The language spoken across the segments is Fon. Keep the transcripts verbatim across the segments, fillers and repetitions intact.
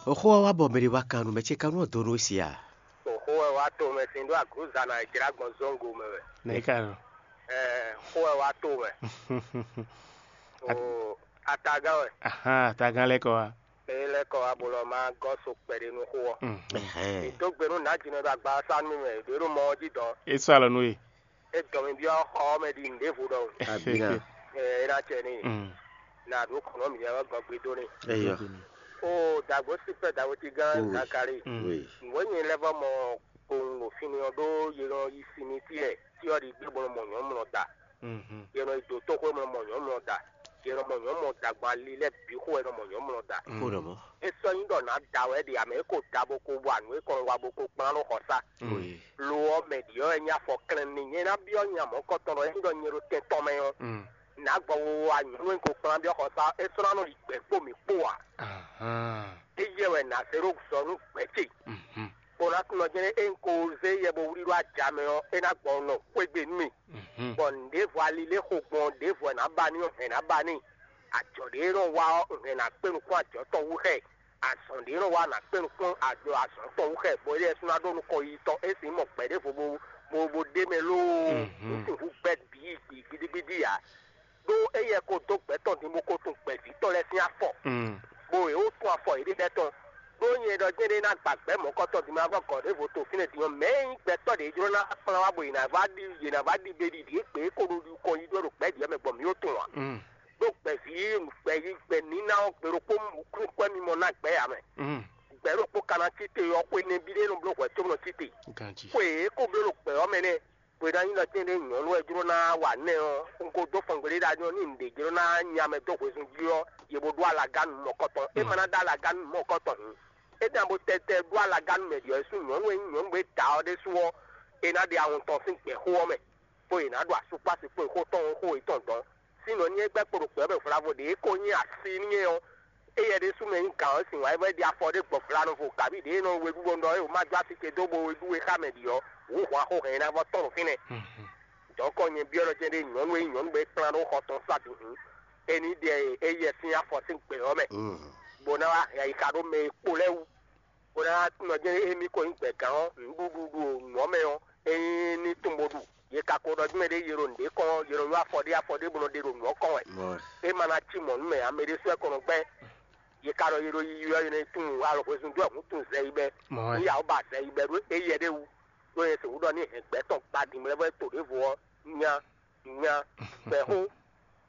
Oxó ɔ́ wá bɔ mɛ ɖé wá kan nú mɛ ce kan nú ɔ́ dó nú é sia. Oxó wɛ wá to mɛ sin ɖó aglǔza ná e jlá gbɔn zɔ́ngo mɛ wɛ. Nɛ̌ ka nɔ? Ɛɛ, xó wɛ wá to mɛ. O atagán wɛ. Ahan, atagán lɛ́ kɔ wá. Eye lɛ́ kɔ wá bo lɔ ma gɔ́ so kpɛɖé nú xó ɔ́. Mǐ dó gbe nú nǎjínɔ ɖo agbasá nú mɛ ɖě ɖo mɔ ɔ́ jí dɔn. É sɔ́ alɔ nú we. É dɔn mi byɔ́ xɔ ɔ́ mɛ ɖi nǔɖévo ɖɔhun. Abina. Ɛ é ná cɛ n'i. Mm. Na ɖó kɔnɔ mǐ wɛ gɔgbe dó n'i. Eyɔ. Ó dàgbó sípẹ́ dàgbó ti gán Zakari. Mm. Oui. Nǔwé nyi lɛ́ vɔ mɔ kpowun ɖo fínni ɔ́ ɖó yě nɔ yi sinmi tí ɛ tí ɔ́ ɖi gbé bó nɔ mɔ nyɔ̌nu mlɔ da. Mhm. Yě nɔ yi dǒ tóxwé bó nɔ mɔ nyɔ̌nu mlɔ da. Yě nɔ mɔ nyɔ̌nu mlɔ da gbɔn ali lɛ́ɛ bǐ xo wɛ nɔ mɔ nyɔ̌nu mlɔ da. Xó ɖɔ mɔ̌. É sɔ́ nyí ɖɔ nǎ da wɛ ɖe ǎ mɛ é ko da bó ko wa nǔ é kɔn wa bó ko kplán ɖó xɔ sá. Oui. Lo ɔ́ mɛ ɖi ɔ́ wɛ nyí afɔ klɛn n'i. Nyɛ ná byɔ́ nya mɔ̌kɔtɔn ɖɔ é nyí ɖɔ nyɛ ɖo tɛn tɔn mɛ ɔ́, nǎ gbɔ wowa nyɔ̌nu e ko kplán byɔ́ xɔ sá é sɔ́ ná nɔ ɖi gbɛ̌ kpó mǐ kpó ǎ. Ahán. Éyɛ́ wɛ nǎ zé ɖó zɔ nú gbɛ̌ ce. Mhm. Bó ná tunɔ jɛ́n é un ko zé yɛ bó wlí ɖó aja mɛ ɔ́, é ná gbɔ nɔ xwé gbe nú mì. Mhm. Bɔ nǔɖévo ali lé xo gbɔn ɖěvo wɛ nǎ ba n'i ɔ́, hɛ̌n ná ba n'i. Ajɔ̌ ɖé e nɔ wa ɔ́, hɛ̌n ná kpé nukún ajɔ̌ tɔn wú xɛ. Azɔ̌ ɖé e nɔ wa ná kpé nukún ajɔ azɔ̌ tɔn wú xɛ, bɔ éɖée sú ná ɖó nukɔn yiyi tɔn. É sǐ mɔ gbɛ̌ ɖěvo bó bó bó ɖ'é mɛ lóó. Mhm. Ní sixú gbɛ́ bǐ yi gbidigbidi ǎ. Ɖó éyɛ́ ko dó gbɛ̌ tɔn din bó ko tun gbɛ̌ví tɔn lɛ́ɛ sín afɔ, Mm. bó yě wó tun afɔ yěɖée lɛ́ɛ tɔn. Ɖó nyɛ ɖɔ jɛ́n ɖé ná gba gbɛ̌ mɔ̌kɔtɔn din ma vɔ gɔ̌ ɖěvo to fínɛ́ din ɔ́, mɛ̌ e nyí gbɛtɔ́ ɖě jló ná kplán wá bɔ yě ná vá ɖi yě ná vá ɖi ɖe ɖiɖi égbé é ko ɖo ɖi kɔn yi ɖó ɖo gbɛ̌ ɖě mɛ gbɔn mǐ ó tunwun ǎ. Mm. Ɖó gbɛ̌ví gbɛ̌ yi gbɛ̌ níná ɔ́ gbe ɖokpó nukúnkwɛ́ mimɔ ná gbɛ̌ ǎ mɛ. Mm. Gbɛ̌ ɖokpó ka ná cí te ɔ́, xwe nɛbí ɖé nɔ bló hwɛ̌ cóbɔ nɔ cí te. Ganjí. Xwe e ko bló ɖo gbɛ̌ ɔ́ mɛ nɛ́. Hwedó anyí ɖɔ tɛ́nɖé nyɔ̌nu wɛ jló ná wa nɛ́ ɔ́, un ko dó fɔngbe ɖé ɖ'ayǐ ɔ́, ní un ɖě jló ná nya mɛ dó hwezun jí ɔ́, yě bo ɖó alagánu mɔ̌kɔtɔn. É ma ná ɖó alagánu mɔ̌kɔtɔn hǔn, é ná bo tɛtɛ ɖó alagánu mɛ ɖě ɔ́ sú nyɔ̌nu e nyí nyɔ̌nu e da ɔ́ ɖésú ɔ́, é ná ɖe awɔn tɔn sín gbɛ̌xó ɔ́ mɛ, bó yě ná ɖo asukpási kpó xó tɔn xó yětɔn dɔn. Sín nɔ nyí é gbɛ́ kpo ɖo gbɛ̌ mɛ hwlávɔ ɖě é ko nyí asi n'i é ɔ́, éyɛ́ ɖésú mɛ nyí gǎn ɔ́ sin wǎn é vɔ é ɖi afɔ ɖé gbɔ vla nɔ vo, kabí ɖěe nɔ we ɖú bɔ un ɖɔ é wǒ má dó así ce dó bo we ɖú we xá mɛ ɖi ɔ́, wǔ hwan xó hɛn ná vɔ tɔ́n ɖo fínɛ́. Dɔ̌nkɔ nyɛ byɔ́ ɖɔ jɛ́n ɖé nyɔ̌nu e nyí nyɔ̌nu bɔ é kplán ɖó xɔ tɔn sá bǐ hǔn, é ní ɖe éyɛ́ sín afɔ sín gbě ɔ́ mɛ, bó ná wá hɛn ayixa ɖó mɛ e kpo lɛ́ɛ wú, bó ná wá tunɔ jɛ́n émí ko nyí gbɛ̌gán ɔ́, nǔɖuɖu ɖo nǔ ɔ́ mɛ ɔ́, é ní tunwun bó ɖu. Yě ka ko ɖɔ jɛ́n mɛ ɖé yě ɖo nǔɖé kɔn ɔ́, yě nɔ ylɔ́ afɔ ɖé afɔ ɖé bó nɔ ɖe ɖo nǔ ɔ́ kɔn wɛ. É ma ná cí mɔ̌ nú mɛ ǎ, mɛ ɖésú wɛ kɔn nɔ gbɛ́. Yě ka ɖɔ yě ɖo yiyi ɔ́, yě nɔ yi tunwun alɔ hwezun dó ɛhǔn tunwun zɛ yi bɛ́. Ní yawo ba zɛ yi bɛ́ ɖó éyɛ́ ɖé wú, ɖó nyɛ sixú ɖɔ ní hɛn gbɛ̌ tɔn gba din mlɛ́ vɔ é to ɖěvo ɔ́, nya nya gbɛ̌ xó.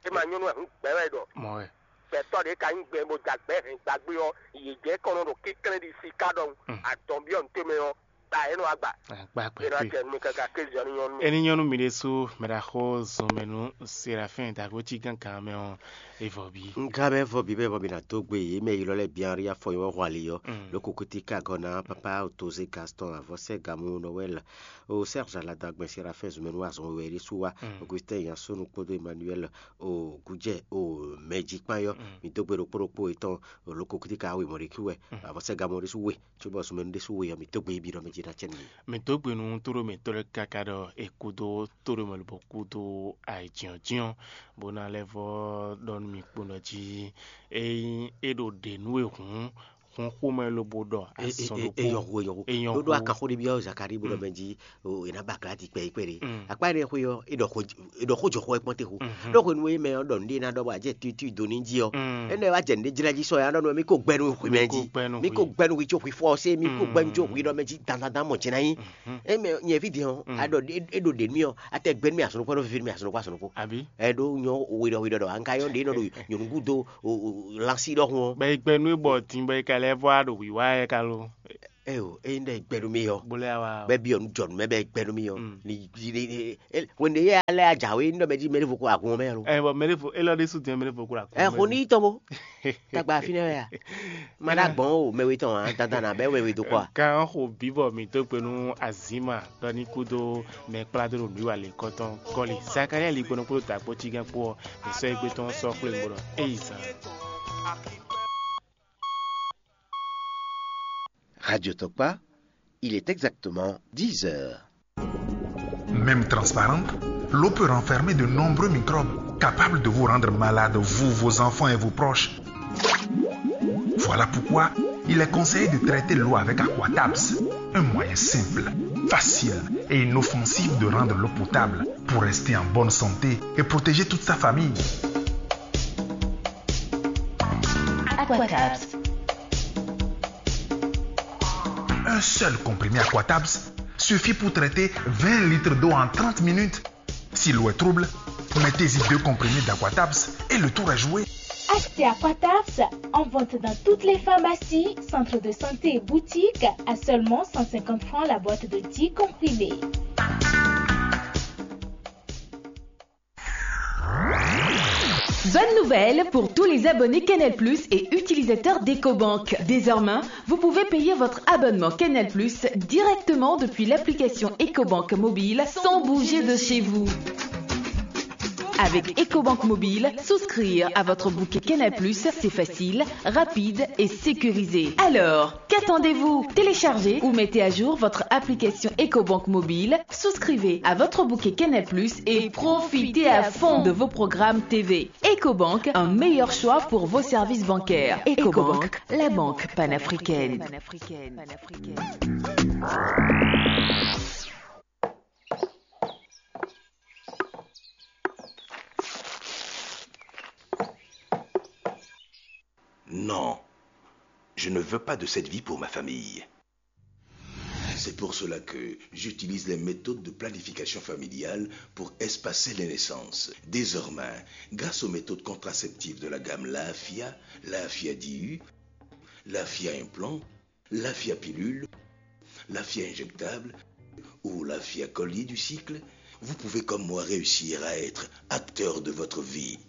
É ma nyɔ́ nú ɛhǔn gbɛ̌ wɛ ɖɔ. Mɔ̌ wɛ. Gbɛ̌tɔ́ ɖě ka nyí gbɛ bó ja gbɛ̌ hɛn gbagbé ɔ́, yě jɛ kɔn nɔ ɖo kínklɛ́n ɖi siká ɖɔhun. Adɔn byɔ́ nǔ tɛnmɛ ɔ́, gba é nɔ wá gba. Gba É ná gbɛgbɛ. Jɛ nú mì káká kéze ɔ́ ní nyɔ́ nú mì. Ení nyɔ́ nú mi ɖésú mɛ ɖaxó zɔnmɛ nú Serafin dagbo cí gángan mɛ ɔ́, é vɔ bí. Nka mɛ vɔ bí bɛ bɔ mi na dó gbe yě mɛ yi lɔ lɛ bian ri afɔ yi wɔ hwali yɔ. Mm. Loko kuti ka gɔ na papa otoze Gaston avɔsɛ gamu Noël o Serge Alada gbɛn Serafin zumɛnu azɔn wɛ ɖi su wa. Mm. Augustin Yansonu kpódó Emmanuel o Gujɛ o mɛji kpan yɔ. Mm. Mi dó gbe ɖokpó ɖokpó etɔn o loko kuti ka awi mɔɖeki wɛ. Mm. Avɔsɛ gamu ɖi su we. Cóbɔ zumɛnu ɖésú we ɔ́, mǐ dó gbe yi bǐ ɖɔ mɛ ce ná cɛ nú mì. Mǐ dó gbe nú tóɖomɛtɔ́ lɛ́ɛ káká ɖɔ è kúdó tóɖomɛ lobɔ kúdó ayǐjínjɔ́n, bó ná lɛ́ vɔ́ ɖɔ nú mì kponɔ jí. Ényí é ɖo ɖě nú we hǔn, hǔn xomɛ lobo ɖɔ É- é- azɔn é- ɖokpó. Eyɔ hu eyɔ hu Eyɔ ɖó ɖó hu. Akanxó ɖé byɔ́ Zakari bó ɖɔ Mm. Mɛ jí o è nǎ ba gladi kpɛ yi kpɛ ɖé. Mm. Akpá énɛ́ xwe ɔ́, é ɖɔ xó é ɖɔ xó jɔ xó ɔ́ kpɔ́n te xó. Mhm. Ɖó hwenu e mɛ ɔ́ ɖɔ nǔɖé ná ɖɔ bɔ ajɛ tuitu do ní jí ɔ́. Mm. Énɛ́ wá jɛ nǔɖé jlɛ́ jí sɔ ya ɖɔ nú mì kó gbɛ nú xwi mɛ jí. Mì kó gbɛ nú mì kó gbɛ nú hwi có hwi fɔ ɔ́ sé mì kó gbɛ nú có hwi ɖɔ mɛ jí dandandan mɔ jɛ ná nyí. Mhm. É mɛ nyɛ ví din ɔ́, Mm. a ɖɔ é- é ɖo ɖě nú mì ɔ́, a tɛ gbɛ nú mì azɔn kpɔ́ ɖó vivi nú mì azɔn kpɔ́ azɔn kpɔ́. Àbí? Ɛ ɖó nyɔ we ɖɔ we ɖɔ ɖɔ an ka yɔ ɖě nɔ ɖo nyɔ̌nu gúdo o- o- lansi ɖɔhun ɔ́. Bɛ yi gbɛ nú é bɔ din bɔ é ka lɛ́ vɔ á ɖo wǐwá ɛ ka lo. Ɛ o, é ɖɔ gbɛ nú mì ɔ́. Bó lɛ́ wá. Bɛ byɔ nú jɔ nú mɛ bɛ gbɛ nú mì ɔ́. Mm. Ni ni ni e- wende yɛ alɛ ajawe ní ɖɔ mɛ jí mɛ ní vo kó agun mɛ lo. Ɛ bɔ mɛ ní vo élɔ́ ní sùn dín mɛ ní vo kó agun. Ɛ xo ní tɔn bo. Tagba fínɛ́ wɛ ya. Ma ɖo agbɔn o mɛ we tɔn a dandan na bɛ wɛ we do kɔ a. Kan xo bíbɔ mǐ dó gbe nú Azima ɖɔ ní kúdó mɛ kplá dó ɖo nǔ wa lě kɔtɔn kɔli. Zakaria li gbɔnɔ kpló dǎkpó cígán kpó ɔ́, mǐ sɔ́ égbé tɔn sɔ́ xwlé gbɔnɔ éyi zan. Radio Tokpa, il est exactement dix heures. Même transparente, l'eau peut renfermer de nombreux microbes capables de vous rendre malade, vous, vos enfants et vos proches. Voilà pourquoi Il est conseillé de traiter l'eau avec Aquatabs, un moyen simple, facile et inoffensif de rendre l'eau potable pour rester en bonne santé et protéger toute sa famille. Aquatabs. Un seul comprimé Aquatabs suffit pour traiter vingt litres d'eau en trente minutes. Si l'eau est trouble, mettez-y deux comprimés d'Aquatabs et le tour est joué. Achetez Aquatabs en vente dans toutes les pharmacies, centres de santé et boutiques à seulement cent cinquante francs la boîte de dix comprimés. Bonne nouvelle pour tous les abonnés Canal Plus et utilisateurs d'EcoBank. Désormais, vous pouvez payer votre abonnement Canal Plus directement depuis l'application EcoBank Mobile sans bouger de chez vous. Avec EcoBank Mobile, souscrire à votre bouquet Canal Plus, c'est facile, rapide et sécurisé. Alors, qu'attendez-vous ? Téléchargez ou mettez à jour votre application EcoBank Mobile, souscrivez à votre bouquet Canal Plus et profitez à fond de vos programmes T V. EcoBank, un meilleur choix pour vos services bancaires. EcoBank, la banque panafricaine. Non, je ne veux pas de cette vie pour ma famille. C'est pour cela que j'utilise les méthodes de planification familiale pour espacer les naissances. Désormais, grâce aux méthodes contraceptives de la gamme Lafia, Lafia D U, Lafia implant, Lafia pilule, Lafia injectable ou Lafia collier du cycle, vous pouvez comme moi réussir à être acteur de votre vie.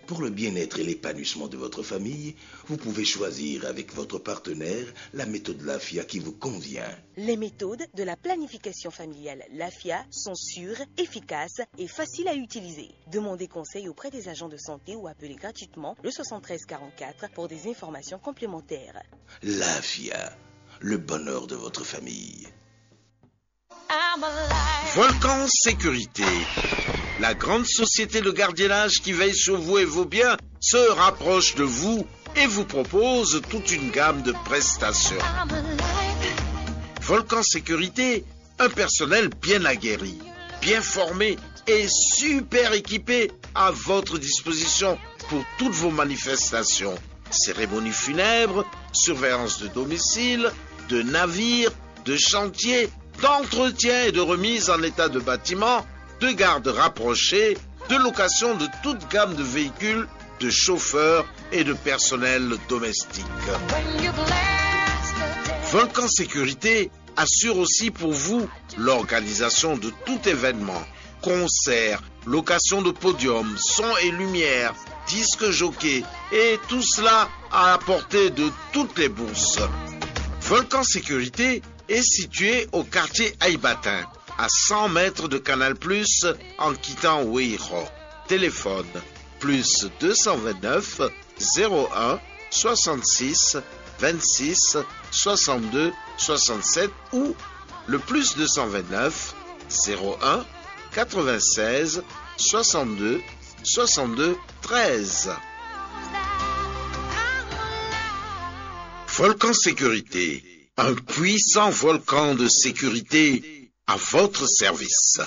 Pour le bien-être et l'épanouissement de votre famille, vous pouvez choisir avec votre partenaire la méthode Lafia qui vous convient. Les méthodes de la planification familiale Lafia sont sûres, efficaces et faciles à utiliser. Demandez conseil auprès des agents de santé ou appelez gratuitement le soixante-treize quarante-quatre pour des informations complémentaires. Lafia, le bonheur de votre famille. Volcan Sécurité, la grande société de gardiennage qui veille sur vous et vos biens, se rapproche de vous et vous propose toute une gamme de prestations. Volcan Sécurité, un personnel bien aguerri, bien formé et super équipé à votre disposition pour toutes vos manifestations. Cérémonie funèbre, surveillance de domicile, de navire, de chantier, d'entretien et de remise en état de bâtiments, de garde rapprochée, de location de toute gamme de véhicules, de chauffeurs et de personnel domestique. Volcan Sécurité assure aussi pour vous l'organisation de tout événement, concert, location de podium, son et lumière, disque jockey, et tout cela à la portée de toutes les bourses. Volcan Sécurité est situé au quartier Aïbatin, à cent mètres de Canal Plus, en quittant Weiro. Téléphone plus deux cent vingt-neuf zéro un soixante-six vingt-six soixante-deux soixante-sept ou le plus deux cent vingt-neuf zéro un quatre-vingt-seize soixante-deux soixante-deux treize. Volcan Sécurité, un puissant volcan de sécurité à votre service.